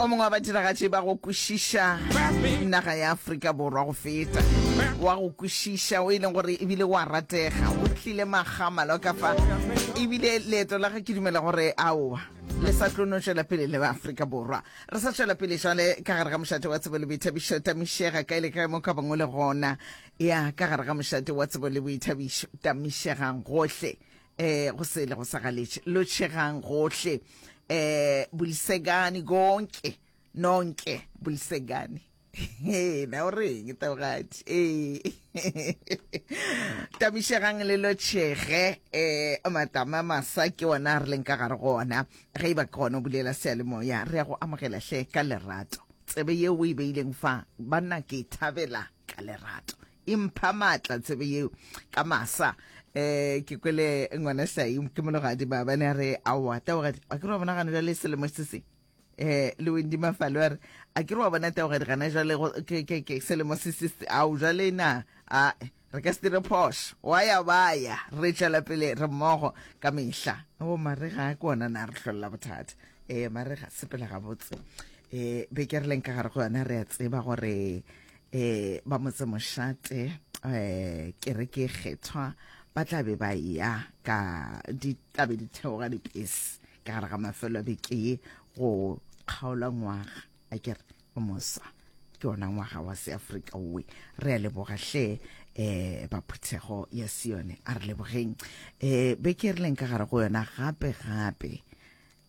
O mongwe wa badiragatši ba go kwešiša naga ya Afrika Borwa go feta, wa go kwešiša o e leng gore ebile wa ratega, o tlile makga ka fa, ebile leeto la ge ke dumela gore aowa le sa tlo no tšwela pele le ba Afrika Borwa. Re sa tšwela pele jwale ka gare ga mošate wa tsebo le boithabišo, tamišega kae le kae mo ka bangwe le gona. Ya ka gare ga mošate wa tsebo le boithabišo, tamišegang gohle. Eh go sele go sa galetše, lotšhegang gohle. Eh bulisekani konke, nonke bulisekani. He, na o reng taogadi? Ee. Tamišegang le lotšhege, eh matama masa ke ona a re leng ka gare go ona. Ge e ba ke gona o bulela seyalemoya, re ya go amogela hle ka lerato. Tsebe yeo o e beileng fa, banna ke e thabela ka lerato. E mpha maatla tsebe yeo ka masa. Eh ke kwele ngwana Hlai ke mologadi maabane a re aowa taogadi, a ke re wa bona gane jwale selemo se se eh le Wendy Mafalo a re a ke re wa bona taogadi gana jwale ke ke ke selemo se se ao jwale na a re ka se dire phošo wa ya ba ya re tšwela pele re mmogo ka mehla o marega ke ona na re hlolla bothata eh marega sepela gabotse eh beke re leng ka gare go yona re a tseba gore eh ba motse mošate eh kereke e kgethwa ba tla be ba ya ka di tla be di theoga dipese ka gare ga mafelo a beke ye go kgaola ngwaga a kere o mosa ke ona ngwaga wa seafrika owe re a leboga hle eh ba phuthego ya sione a re lebogeng eh beke re leng ka gare go yona gape gape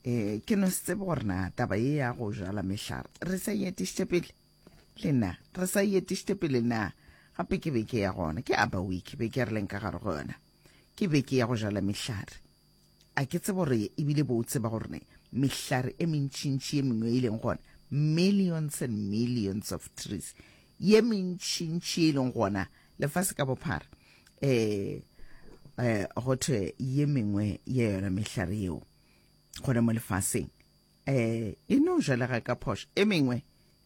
eh ke no se tsebe gore na taba ye ya go jala mehlare re sa e etišitše pele le na re sa e etišitše pele na gape ke beke ya gona ke aba week beke re leng ka gare go yona ke beke ya go jala mehlare a ke tsebe gore ebile bo o tseba gore ne mehlare e mentšintši ye mengwe e leng gona millions and millions of trees ye mentšintši e leng gona lefase ka bophara eh eh go thwe ye mengwe ya yona mehlare yeo gona mo lefaseng eh e no jalega ka phošo e mengwe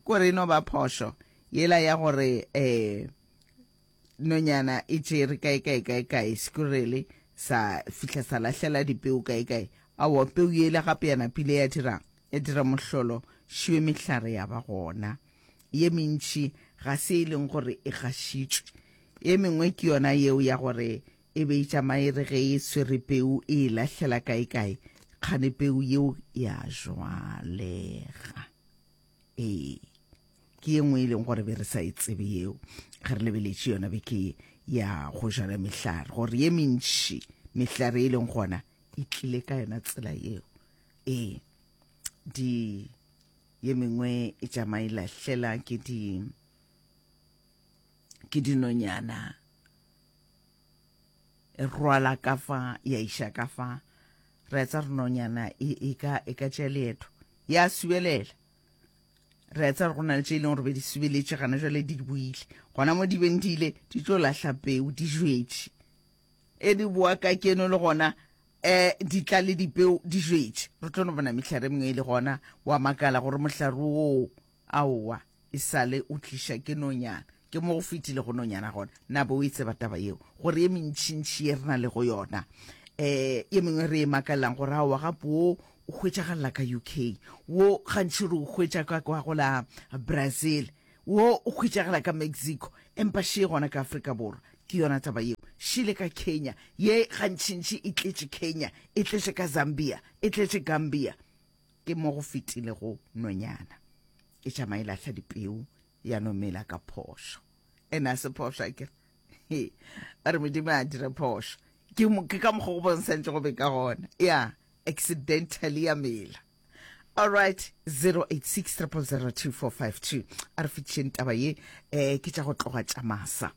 kore e no ba phošo yela ya gore eh nonyana e tšere kae kae kae kae squirrel sa fihla sa lahlela dipeu kae kae aowa peu yela gape ya napile ya dirang ya dira mohlolo šiwe mehlare ya ba gona ye mentši ga se e leng gore e gašitšwe ye mengwe ke yona yeo ya gore e be e tšama e re ge e swere peu e e lahlela kae kae kgane peu yeo ya jwalega ee Ke ye nngwe e leng gore be re sa e tsebe yeo ge re lebeletše yona beke ye ya go jala mehlare, gore ye mentši mehlare e leng gona e tlile ka yona tsela yeo. Ee, di ye mengwe e tšama e lahlela ke di ke dinonyana e rwala ka fa ya iša ka fa re etsa re nonyana e, e ka e ka tšea leeto ya subelela Re a tseba gore go na le tše e leng gore be di subeletše gana jwale di boile. Gona mo di beng di ile, di tlo lahla peu, di jwetše. E di boa ka keno le gona um di tla le dipeu di jwetše. Re tlo no bona mehlare e mengwe e le gona, wa makala gore mohlare woo aowa e sale o tliša ke nonyana. Ke mo go fetile go nonyana gona. Na be o e tseba taba yeo? Gore ye mentšintši ye re na lego yona, um ye mengwe re e makalelang gore aowa gape wo o hwetšagalela ka UK, wo gantši re o hwetša ka kwa go la Brazil, wo o hwetšagala ka Mexico, empa še gona ka Afrika Borwa. Ke yona taba yeo. Šele ka Kenya, ye gantšintši e tletše Kenya, e tletše ka Zambia, e tletše Gambia. Ke mo go fetilego nonyana e tšama e lahla dipeu ya no mela ka phošo. Ene a se phošo a kere. Ba re Modimo a dire phošo. Ke, ke ka mokgwa go bontshantše go be ka gona. Ya, accidentally ya mela. Alright, 086 000 2452. A re fetišeng taba ye, eh, ke tša go tloga tša masa.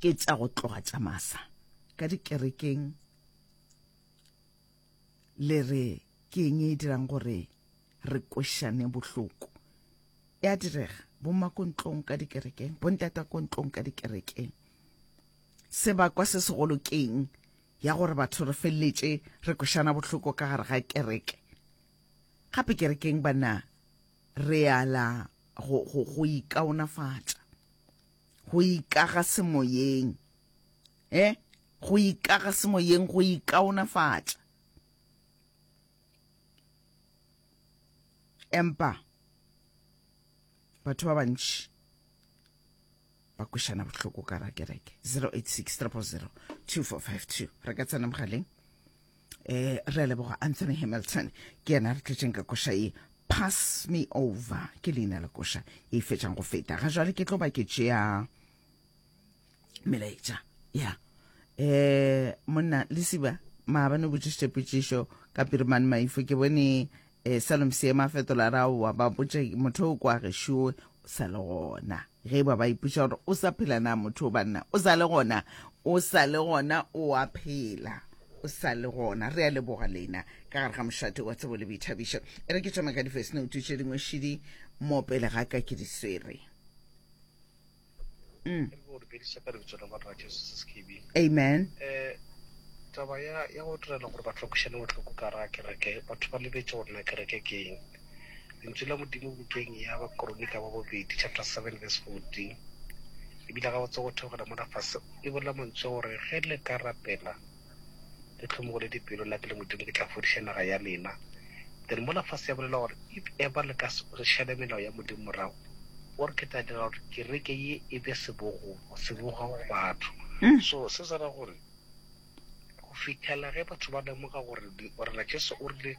Ke tša go tloga tša masa. Ka dikerekeng le re ke eng e dirang gore re kwešane bohloko. E a direga, bomma ko ntlong ka dikerekeng, bontata ko ntlong ka dikerekeng. Sebakwa se segolo ke eng ya gore batho re feleletše re kwešana bohloko ka gare ga kereke? Gape kerekeng banna re ala go, go, go ikaonafatša, go ikaga semoyeng, eh? Go ikaga semoyeng, go ikaonafatša. Empa batho ba bantši ba kwešana bohloko ka ra kereke. 086 000 2452 re ka tsena mogaleng. Eh re a leboga Anthony Hamilton ke yena re tletšeng ka koša ye Pass Me Over ke leina la koša e fetšang go feta. Ga jwale ke tlo ba ke tšea melaetša ya eh monna lesiba maabane o botšišitše potšišo ka pirimane maifo ke bone eh salom seema a fetola ra oa ba botše motho o kwa gešo sa le gona ge ba ba ipotša gore o sa phela na motho o banna o sa le gona o sa le gona o a phela o sa le gona re a leboga lena ka gare ga mošate wa tsebo le boithabišo e re ke tšama ka di-first note tše dingwe šidi mo pele ga ka ke di swere Mm. Amen. Eh, taba ya ya go direla gore batho ba kwešane bohloko ka ra kereke batho ba lebetse gore na kereke ke eng lentswe la modimo bukeng ya bakoronika ba bobedi chapter 7 verse 14 ebile ga botse go theogela mona fase e bolela mantswe gore ge le ka rapela le tlhomogole dipelo nna ke le modimo ke tla fodiša naga ya lena then mola fase ya bolela gore if ever le ka šale melao ya modimo morago O re ke tla dira gore kereke ye e be sebogo, seboga go batho. Mm. So se se ra gore go fihlela ge batho ba lemoga gore Morena Jesu o rile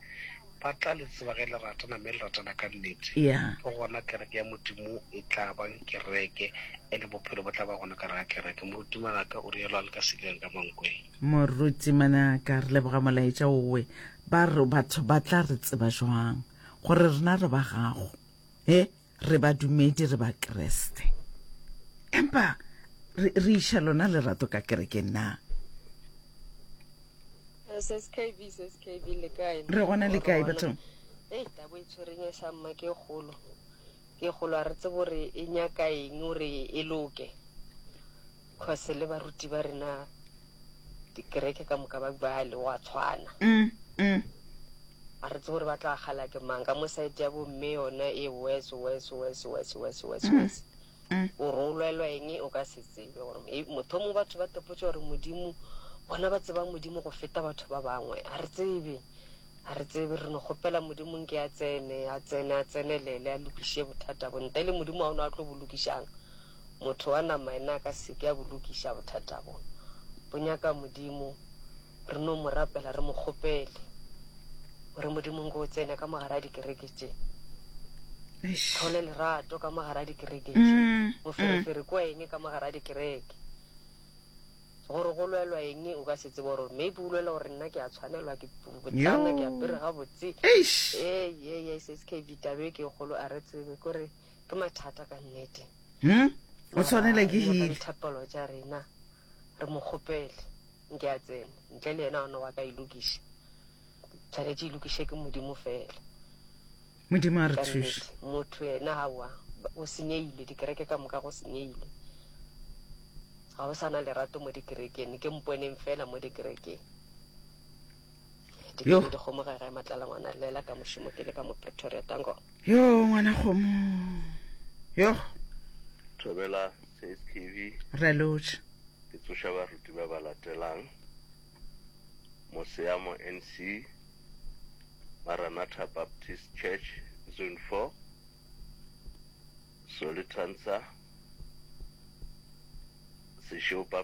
ba tla le tseba ge le ratana mme le ratana ka nnete. Yeah. Ke gona kereke ya Modimo e tla bang kereke and bophelo bo tla ba gona ka gare ga kereke. Moruti Manaka o rialo a le ka Seleng ka Mankweng. Moruti Manaka, re leboga molaetša owe. Ba re batho ba tla re tseba jwang gore rena re ba gago? He, re badumedi, re Bakriste. Empa re, re iša lona lerato ka kerekeng na? SSKB, SSKB, le kae? Re gona le kae bathong? Ei, tabo e tshwereng e sa mma ke kgolo. Ke kgolo a re tsebe gore e nyaka eng gore e loke. Cause le baruti ba rena dikereke ka moka ba ba le wa tshwana. Mm, mm. A re tsebe gore ba tla kgala ke mang ka mo side ya bo mme yona e worse worse worse worse worse worse mm. worse. Mm. O re o lwelwa eng o ka se tsebe gore e, motho mo batho ba tepotse gore modimo bona ba tseba modimo go feta batho ba bangwe a re tsebe a re tsebe re no kgopela modimo nke a tsene a tsene a tsenelele a lokiše bothata bo ntle le modimo a o ne a tlo bo lokišang Motho wa nama yena a ka se ke a bo lokiša bothata bo. Bo nyaka Modimo. Re no mo rapela re mo kgopele gore Modimo nko o tsene ka mo gare a dikereke tše. Tlhole lerato ka mo gare a dikereke tše. Mm, Moferefere mm. kwa eng ka mo gare a dikereke. Gore go lwelwa eng o ka se tsebe gore maybe o lwela gore nna ke a tshwanelwa ke botlana ke apere gabotse. Ee, ee, ee, SKB tabe ke kgolo a re tsebe kore Ke mathata ka nnete. Hmm? O tshwanela ke hile. Dithapelo tša rena re mo kgopele nke a tsene ntle le yena ona wa ka e lokiša. Tshwanetše e lokiše ke Modimo fela. Modimo a re thuše. Motho yena aowa o senyehile dikereke ka moka go senyehile. Ga go sa na lerato mo dikerekeng ke mponeng fela mo dikerekeng. Yo. Dikete dikgomo ga gae matlala ngwana llela ka mošomo ke le ka mo Pretoria tango. Yo ngwana kgomo. Yo. Thobela CSKV. Re lotšha. Ke tsoša baruti ba ba latelang. Moseamo NC, Maranatha Baptist Church, Zone 4, Solitansa, Sešopa.